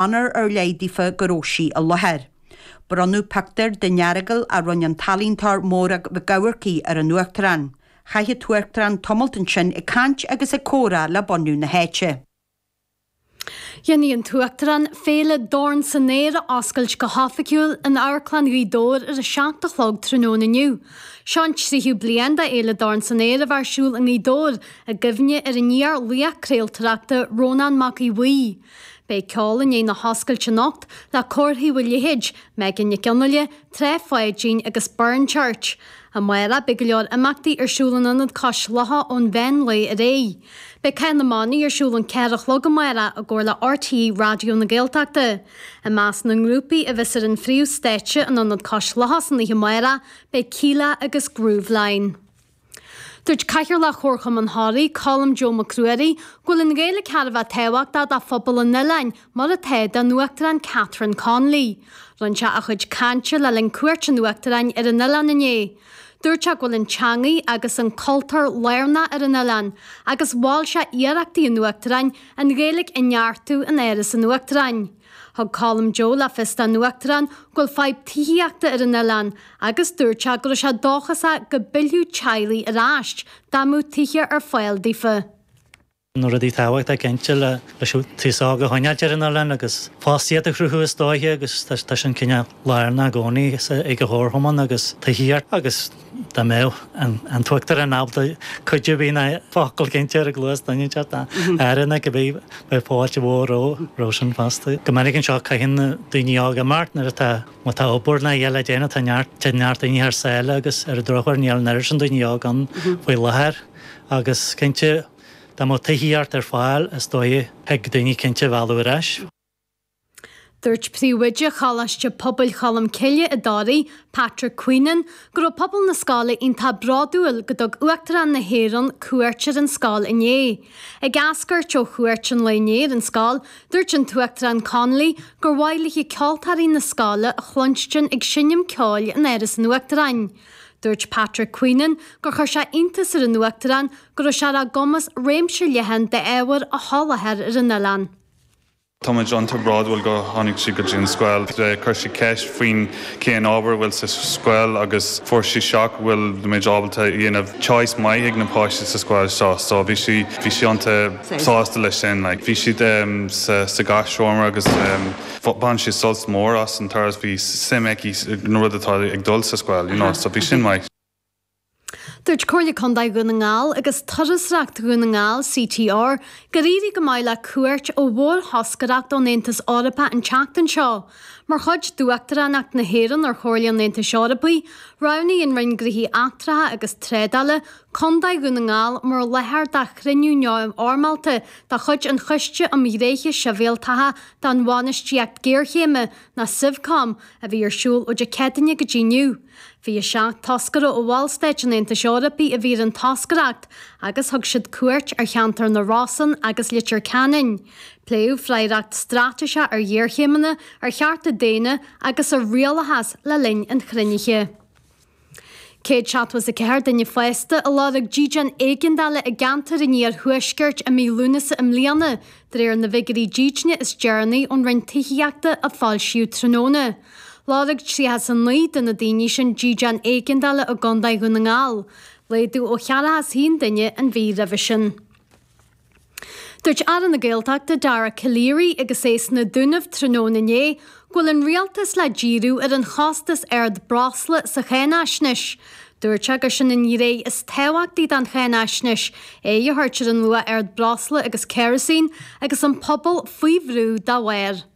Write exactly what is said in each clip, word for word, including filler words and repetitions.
Onóir ar leith daofa go raibh sí i láthair. Bronnadh pictiúr den Earagail a rinne an t-ealaíontóir Mórag Mhic Eamharcaigh ar an Uachtarán. Chaith an tUachtarán tamalt ansin ag caint agus ag comhrá le bunadh na háite. Dhéanfaidh an tUachtarán Féile Dorn san Aer a oscailt go hoifigiúil in Amharclann Ghaoth Dobhair ar a seacht a chlog tráthnóna inniu. Seo an tríú bliain de Fhéile Dorn san Aer a bheith ar siúl i nGaoth Dobhair i gcuimhne ar an iar-laoch craoltóireachta Rónán Mac Aodha Bhuí. Beidh ceol i ndiaidh na hoscailte anocht le Comharthaí Mhaigh Leithéid, Megan Nic Fhionnghaile, Trá Pháidín agus Burren Church. Amárach beidh go leor imeachtaí ar siúl in Ionad Cois Locha ón mheán lae ar aghaidh. Beidh Cath na mBannaí ar siúl ón ceathair a chlog amárach i gcomhar le RTÉ Raidió na Gaeltachta. I measc na ngrúpaí a bheas ar an phríomhstáitse in Ionad Cois Locha san oíche amárach beidh Kíla agus Grooveline. Dúirt Cathaoirleach Chomharchumann Thoraí, Colm Joe Mac Ruairí, go bhfuil an Ghaeilge thar a bheith tábhachtach do phobal an oileáin mar atá don Uachtarán Catherine Connolly. Rinne sé a chuid cainte le linn cuairt an Uachtaráin ar an oileán inné. Dúirt sé go bhfuil an teangaidh agus an cultúr lárnach ar an oileán agus mhol sé iarrachtaí an Uachtaráin an Ghaeilge a neartú in Áras an Uachtaráin. Thug Colm Joe le fios don Uachtarán go bhfuil fadhb tithíochta ar an oileán agus dúirt sé go raibh sé dóchasach go bpillfeadh teaghlaigh ar ais dá mbeadh tithe ar fáil daofa. Na rudaí tábhachtacha cinnte le leis an t-aos óg a choinneáilt ar an oileán agus fostaíocht a chruthú is dóiche agus tá sin cineál lárnach i gcónaí ag an chomharchumann agus tithíocht agus dá mbeadh an tUachtarán ábalta cuid ar bith ná focal cinnte ar an gcluas duine inteacht ná aire ná cibé beidh fáilte mhór roimhe sin fosta. Go minic anseo caitheann daoine óga imeacht nuair atá má tá obair ná eile le déanamh tá neart tá neart daoine thar sáile agus ar an drochuair níl an oiread sin daoine óg ann faoi láthair agus cinnte dá mbeadh tithíocht ar fáil is dóigh thig daoine cinnte a mhealladh ar ais. Dúirt Príomhoide Choláiste Pobail Cholmcille i dToraigh, Patrick Queenan, go raibh pobal na scoile iontach bródúil go dtug Uachtarán na hÉireann cuairt ar an scoil inné. Ag eascairt ó chuairt an lae inné ar an scoil, dúirt an tUachtarán Connolly gur mhaith léi ceoltóirí na scoile a chluinstin ag seinm ceoil in Áras an Uachtaráin. Dúirt Patrick Queenan gur chuir sé iontas ar an Uachtarán go raibh sé ar a gcumas réimse leathan d'ábhar a sholáthar ar an oileán. Tá muid iontach bródúil go tháinig sí go dtí an scoil. Chuir sí ceist faoin cén ábhar bhfuil sa scoil agus fuair sí shock bhfuil muid ábalta dhéanamh choice maith ag na páistí sa scoil seo, so bhí sí bhí sí iontach sásta leis sin. Like, bhí siad um, sa, sa gach agus um, bhain sí sult mór as an turas bhí suim aici na rud atá ag dul sa scoil, you know, so bhí sin maith. Dúirt Comhairle Contae Dhún na nGall agus Turasóireacht Dhún na nGall CTR gur éirigh go maith le cuairt ó mhórthoscaireacht ón Aontas Eorpach an tseachtain seo. Mar chuid d'Uachtaránacht na hÉireann ar Chomhairle an Aontais Eorpaigh, roghnaigh an Roinn Gnóthaí Eachtracha agus Trádála Contae Dhún na nGall mar láthair do chruinniú neamhfhoirmeálta de chuid an Choiste um Ghnéithe Sibhialtacha don Bhainistíocht Géarchéime ná Civcom a bhí ar siúl ó Dé Céadaoine go dtí inniu. Fiche seacht toscaire ó Bhallstáit an Aontais Eorpaigh a bhí ar an toscaireacht agus thug siad cuairt ar cheantar na Rosann agus Leitir Ceanainn. Pléadh freagracht straitéiseach ar ghéarchéimeanna, ar chearta daonna agus ar rialachas le linn an chruinnithe. Céad seachtó is a ceathair duine fásta a lorg dídean éigeandála i gceantar an iarthuaiscirt i mí Lúnasa i mbliana, de réir na bhfigiúirí dídine is deireanaí ón Roinn Tithíochta a foilsíodh tráthnóna. Lorg tríocha a naoi de na daoine sin dídean éigeandála i gContae Dhún na nGall, laghdú ó cheathracha is a haon duine an mhí roimhe sin. Dúirt Aire na Gaeltachta Dara Calleary agus é sna Dúnaibh tráthnóna inné go bhfuil an rialtas le díriú ar an chostas ard breosla sa cháinaisnéis. Dúirt sé gur sin an ghné is tábhachtaí den cháinaisnéis, aghaidh a thabhairt ar an luach ard breosla agus kerosene agus an pobal faoi bhrú dá bharr.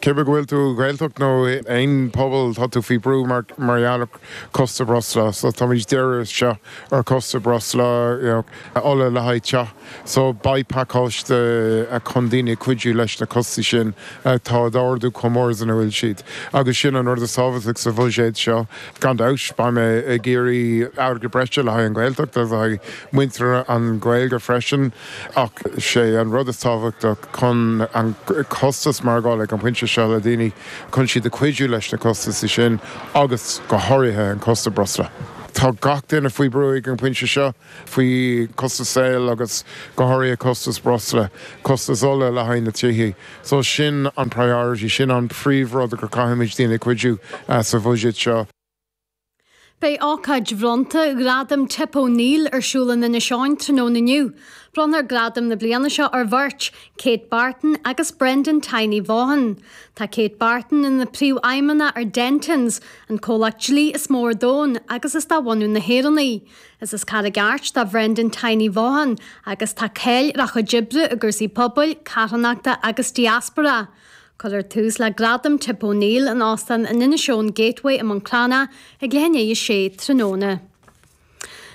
Cibé go bhfuil tú Gaeltacht nó aon pobal tá tú faoi brú mar mar gheall ar costas breosla, so táimid dírithe seo ar costas breosla you know, ola le haghaidh teach, so beidh pacáiste chun daoine cuidiú leis na costais sin atá ag ardú chomh mór is a bhfuil siad. Agus sin an rud is tábhachtaí sa bhuiséad seo gan dabht beidh mé ag iarraidh airgead breise le haghaidh an Ghaeltacht agus le haghaidh muintir an Ghaeilge freisin ach sé an rud is tábhachtach chun an costas maireachtála ag an bpointe seo le daoine chun siad a cuidiú leis na costais sin agus go háirithe an costas breosla. Tá gach duine faoi brú ag an pointe seo faoi costas saoil agus go háirithe costas breosla, costas ola le haghaidh na tithe. So sin an priority sin an príomhrud gur caithfimid daoine cuidiú uh, sa bhuiséad seo. Beidh ócáid bhronnta Ghradam Tip O'Neill ar siúl in Inis Eoghain tráthnóna inniu. Bronnfar gradam na bliana seo ar bheirt, Kate Barton agus Brendan Tiny Vaughan. Tá Kate Barton ina príomhfheidhmeannach ar Dentons, an comhlacht dlí is mó ar domhan agus is de bhunadh na hÉireann í. Is as Carraig Airt do Brendan Tiny Vaughan agus tá cáil ar a chuid oibre i gcúrsaí pobail, carthanachta agus diaspora. Cuirfear tús le gradam Tip O'Neill in Óstán an Inishowen Gateway i Manchlána ag leath i ndiaidh a sé tráthnóna.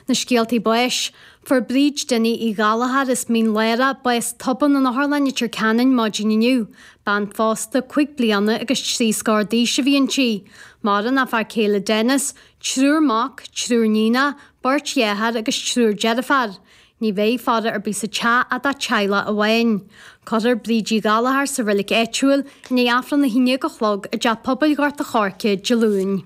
Na scéaltaí báis, Fuair Bríd Dinny Uí Ghallchóir as Mín Lárach bás tobann in Otharlann Leitir Ceanainn maidin inniu, bean phósta cúig bliana agus trí scór d'aois a bhí inti. Maireann a fear céile Dennis, triúr mac, triúr níon, beirt dhearthár agus triúr deirfiúr. Ní bheidh faire ar bith sa teach ach dá teaghlach amháin. Cuirfear Bríd Uí Ghallchóir sa reilig áitiúil i ndiaidh Aifreann a haon déag a chlog i dteach pobail Ghort a' Choirce Dé Luain.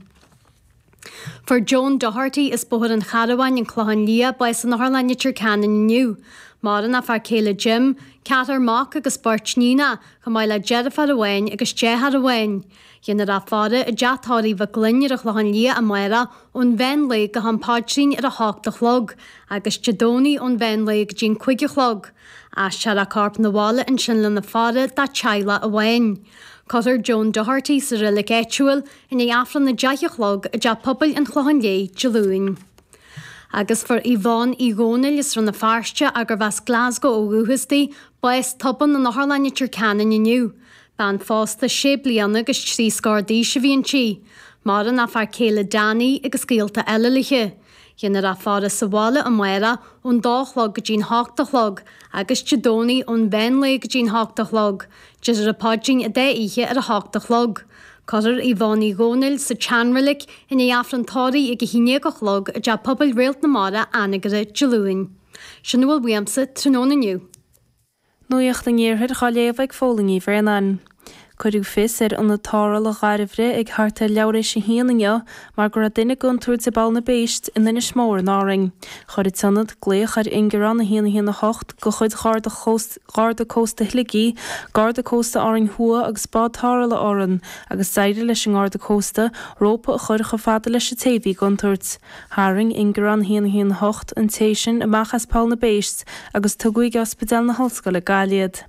Fuair Joan Doherty as Bóthar an Charbháin an Clochán Liath bás in Otharlann Leitir Ceanainn inniu. Maireann a fear céile Jim, ceathrar mac agus beirt níon, chomh maith le deirfiúr amháin agus deartháir amháin. Déanfar a faire i dteach tórraimh Mhic Gloinn ar an Chlochán Liath amárach ón mheán lae go ham paidrín ar a hocht a chlog, agus Dé Domhnaigh ón mheán lae go dtí an cúig a chlog. Aistreofar a corp 'na bhaile ansin lena faire dá teaghlach amháin. Cuirfear Joan Doherty sa reilig áitiúil i ndiaidh Aifreann a deich a chlog i dteach pobail an Chlocháin Léith Dé Luain. Agus fuair Yvonne Uí Dhónaill as Rann na Feirste arb as Glasgow ó dhúchas di, bás tobann in Otharlann Leitir Ceanainn inniu. Bean phósta sé bliana agus trí scór d'aois a bhí inti. Maireann a fear céile Danny agus gaolta eile léi. Déanfar a faire sa bhaile amárach ón dó a chlog go dtí'n hocht a chlog, agus Dé Domhnaigh ón mheán lae go dtí'n hocht a chlog, Déarfar an paidrín an dá oíche ar a hocht a chlog. Cuirfear Yvonne Uí Dhónaill sa tseanreilig i ndiaidh Aifreann tórraimh ag a haon déag a chlog i dteach pobail Réalt na Mara Anagaire Dé Luain. Sin a bhfuil uaimse tráthnóna inniu. Nuacht an Iarthair á léamh ag Fódhla Ní Bhraonáin. Cuireadh fios ar ionad tarrthála Dhairbhre ag thart ar leathuair théis a haon inniu mar go raibh duine i gcontúirt i bPoll na bPéist in Inis Mór in Árainn. Chuir an t-ionad glaoch ar ingearán a haon a haon a hocht de chuid Gharda Cósta Shligigh, Garda Cósta Árainn Thuaidh agus Bád Tarrthála Árann agus d'éirigh leis an nGarda Cósta rópa a chur chomh fada leis an té a bhí i gcontúirt. Tharraing ingearán a haon a haon a hocht an té sin amach as Poll na bPéist agus tugadh ag Ospidéal na hOllscoile Gaillimh iad.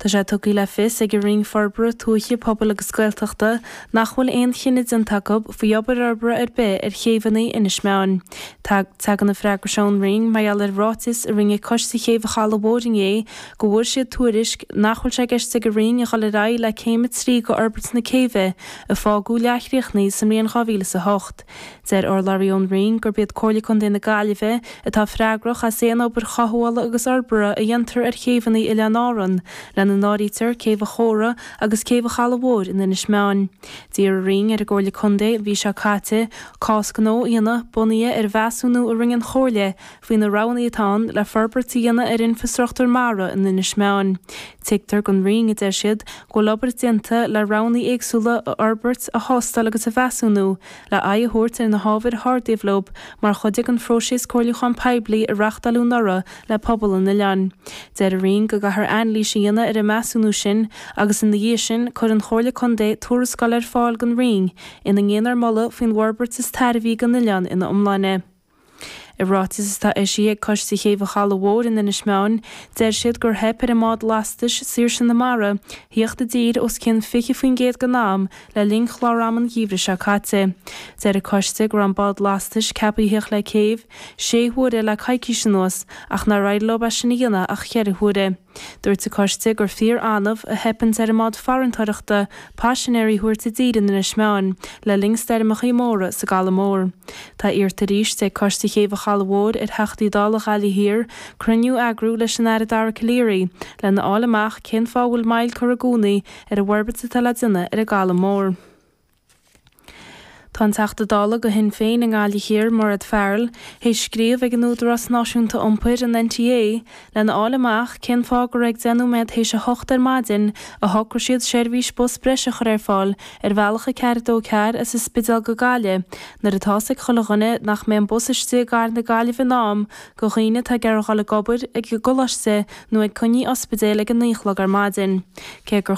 Tá sé tugtha le fios ag an Roinn Forbartha Tuaithe Pobail agus Gaeltachta nach bhfuil aon chinneadh déanta acu faoi obair fhorbartha ar bith ar chéibheanna Inis Meáin. Tagann an freagra seo ón Roinn mar gheall ar ráiteas a rinne Coiste Chéibh an Chalaidh Mhóir inné go bhfuair siad tuairisc nach bhfuil sé i gceist ag an Roinn a dhul ar aghaidh le céim a trí d'fhorbairt na céibhe a fágadh leathchríochnaithe sa mbliain dhá mhíle is a hocht. Deir urlabhraí ón Roinn gurb iad Comhairle Contae na Gaillimhe atá freagrach as aon obair chothabhála agus fhorbartha a dhéantar ar chéibheanna Oileáin Árann, lena n-áirítear Céibh an Chóra agus Céibh an Chalaidh Mhóir in Inis Meáin. D'iarr an Roinn ar an gComhairle Contae an mhí seo caite cás gnó a dhéanamh bunaithe ar mheasúnú a rinne an Chomhairle faoi na roghanna atá ann le forbairt a dhéanamh ar infreastruchtúr mara in Inis Meáin. Tuigtear don Roinn, a deir siad, go bhfuil obair déanta le roghanna éagsúla a fhorbairt, a thástáil agus a mheasúnú le aghaidh a thabhairt ar na hábhair a hardaíodh leo mar chuid den phróiseas comhairliúchán poiblí a reáchtáladh anuraidh le pobal an oileáin. Deir an Roinn go gcaithfear anailís a dhéanamh ar an measúnú sin agus ina dhiaidh sin cuirfidh an Chomhairle Contae tuarascáil ar fáil don Roinn ina ndéanfar moladh faoin bhforbairt is tairbhí don oileán ina iomláine. I ráiteas atá eisithe ag Coiste Chéibh an Chalaidh Mhóir in Inis Meáin, deir siad gur theip ar an mbád lastais Saoirse na Mara theacht i dtír os cionn fiche faoin gcéad den am le linn chlár ama an gheimhridh seo caite. Deir an coiste go raibh an bád lastais ceaptha theacht le céibh sé huaire le coicís anuas ach nár éirigh leo é sin a dhéanamh ach ceithre huaire. Dúirt an coiste gur fíor-annamh a theipeann ar an mbád farantóireachta paisinéirí a thabhairt i dtír in Inis Meáin le linn stoirmeacha móra sa gCaladh Mór. Tá iarrta arís ag Coiste Chéibh an Chalaidh Mhóir ar Theachtaí Dála Ghaillimh Thiar cruinniú a eagrú leis an Aire Dara Calleary lena fháil amach cén fáth a bhfuil moill curtha i gcónaí ar an bhforbairt atá le déanamh ar an gCaladh Mór. Tá an Teachta Dála do Shinn Féin i nGaillimh Thiar, Mairéad Farrell, théis scríobh ag an Údarás Náisiúnta Iompair, an NTA, lena fháil amach cén fáth gur ag deich nóiméad théis a hocht ar maidin a shocraigh siad seirbhís bus breise a chur ar fáil ar bhealach a ceathair a dó ceathair as an Spidéal go Gaillimh nuair atá's ag chuile dhuine nach mbeidh an bus istigh i gcathair na Gaillimhe in am do dhaoine atá ag iarraidh dhul ag obair, ag an gcoláiste nó ag coinní ospidéil ag a naoi a chlog ar maidin. Cé gur